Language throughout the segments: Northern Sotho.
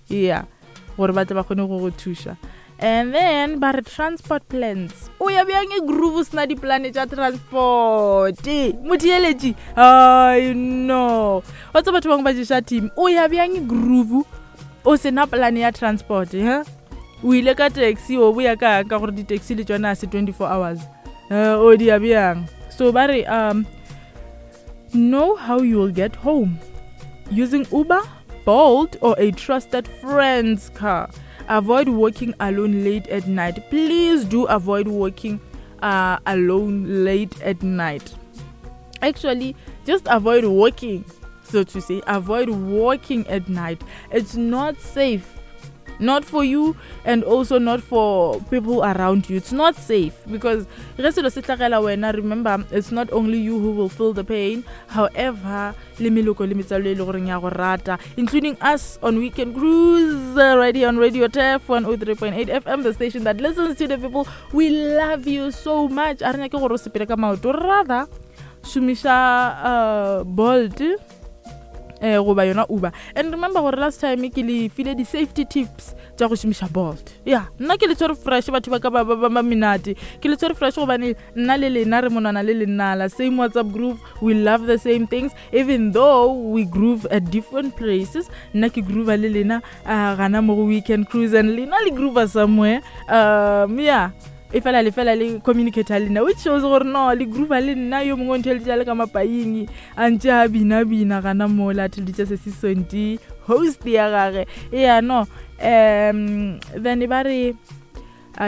Yeah, gore ba tle ba kgone go go thuša. And then ba re transport plans. O ya bjang e groove o sena diplane tša transport? Motheeletši, I know. Wa tseba batho bangwe ba ješa team. O ya bjang e groove o sena plan ya transport, he? O ile ka taxi o boya ka ka gore di-taxi le tšona a se 24 hours. O di ya bjang? So ba re know how you'll get home using Uber, Bolt or a trusted friend's car. Avoid walking alone late at night. Please do avoid walking alone late at night. Actually, just avoid walking, so to say. Avoid walking at night. It's not safe. Not for you and also not for people around you. It's not safe because ge selo se hlagela wena, remember, it's not only you who will feel the pain. However, le meloko le metswalo e le goreng ya go rata, including us on Weekend Cruise, right here on Radio Turf 103.8 FM, the station that listens to the people. We love you so much. A re nyake gore o sepele ka maoto, rather šomiša Bolt goba yona Uber. And remember gore last time ke le file di-safety tips tša go šomiša Bolt. Ya, nna ke le tshwere fresh, batho ba ka ba ba menate. Ke le tshwere fresh gobane nna le lena re monwana le lenala, same WhatsApp group, we love the same things even though we groove at different places. Nna ke groove le lena gana mo go Weekend Cruise and lena le groove somewhere. Yeah, e fela le fela le communicate le nna, which shows gore no le groove le nna. Yo mongwe o ntheleditše le ka mapaing a ntše a bina-bina gana mola, a theleditše se se sonti host ya gage. Yeah, no, then e ba re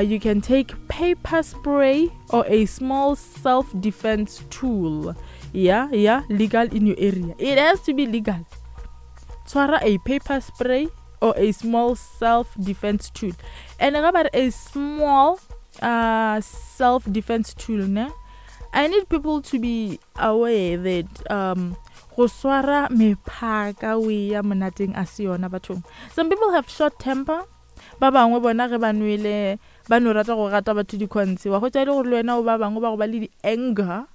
you can take pepper spray or a small self-defense tool. Yeah, legal in your area. It has to be legal. Tshwara a pepper spray or a small self-defense tool. And ga ba re a small self-defense tool, ne? I need people to be aware that go swara mephaka o ya monateng a se yona bathong. Some people have short temper. Ba bangwe bona ge ba nwele ba no rata go gata batho dikhontshe, wa hwetša e le gore le wena o ba bangwe ba go ba le di-anger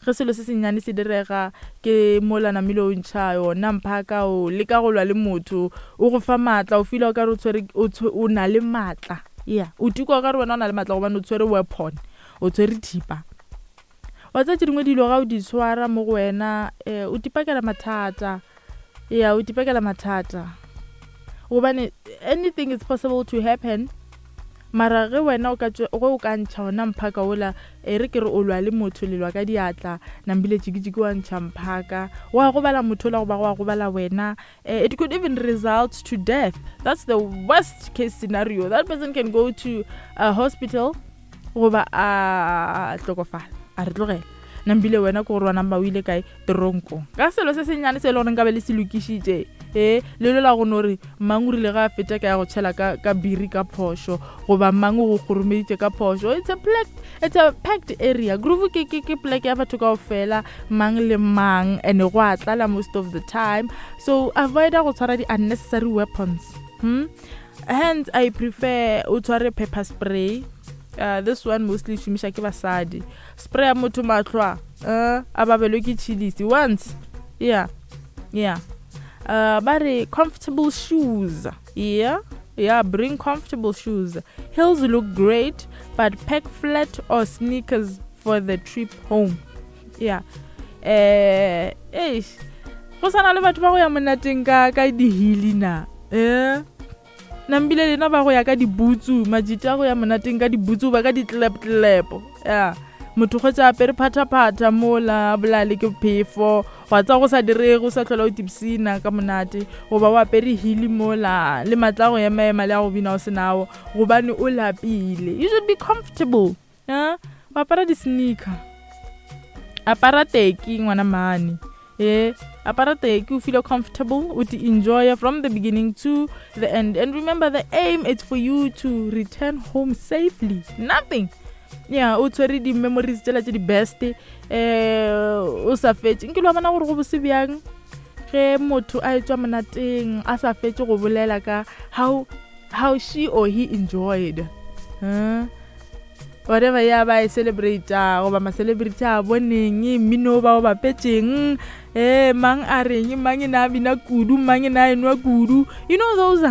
ge selo se sennyane se direga, ke mola namile o ntšha yona mphaka o leka go lwa le motho, o go fa maatla, o feel o ka re o tshwere o na le maatla. Yeah, o tikwa o ka re wena o na le maatla gobane o tshwere weapon, o tshwere thipa. Wa tseba tše dingwe dilo ga o di tshwara mo go wena, o tipakela mathata. Yeah, o tipakela mathata gobane anything is possible to happen. Mara ge wena o ka ge o ka ntšha ona mphaka ola, e re ke re o lwa le motho, le lwa ka diatla, nambile tšikitšiki wa ntšha mphaka, wa gobala motho ola goba wa gobala wena. It could even result to death. That's the worst case scenario. That person can go to a hospital goba a hlokofala, a re tlogela. Nambile wena ke gore wa namba o ile kae teronkong ka selo se sennyane se e le goreng ka be le se lokišitše. E le lela go no re mang o rile ga a feta ka ya go tšhela ka biri ka phošo, goba mang o go kgoromeditše ka phošo. It's a packed area. Groove ke plek ya batho kaofela, mang le mang, and go a tlala most of the time. So avoid go tshwara di-unnecessary weapons. Hence I prefer o tshware pepper spray. This one mostly šomiša ke basadi. Spray ya motho mahlo a babelwe ke chilisi once. Yeah, yeah. Ba re comfortable shoes. Yeah, yeah, bring comfortable shoes. Heels look great, but pack flat or sneakers for the trip home. Yeah. Eish. Go sana le batho ba go ya monateng ka dihili na. Nambile lena ba go ya ka dibutsu, majita go ya monateng ka dibutsu ba ka ditlep-tlepo. Yeah. Motho kgotsa apere phatha-phatha mola, a bolale ke phefo, wa tsa go sa direge, o sa tlhola o tipsina ka monate, goba o apere hili mola, le matla a go ema-ema le a go bina o senao, gobane o lapile. You should be comfortable. Wa apara di-sneaker. Apara teki ngwana mane. Apara teki, o feel comfortable, o ti enjoy from the beginning to the end. And remember, the aim is for you to return home safely. Nothing. Yeah, o tshwere di-memories tsela tse di best, o sa fetše. Nkile wa bona gore go bose bjang ge motho a etswa monateng a sa fetše go bolela ka how she or he enjoyed. Whatever ya ba e celebrate goba ma-celebrity a boneng mmino ba o bapetšeng, mang a reng, mang e na a bina kudu, mang e na a enwa kudu. You know those are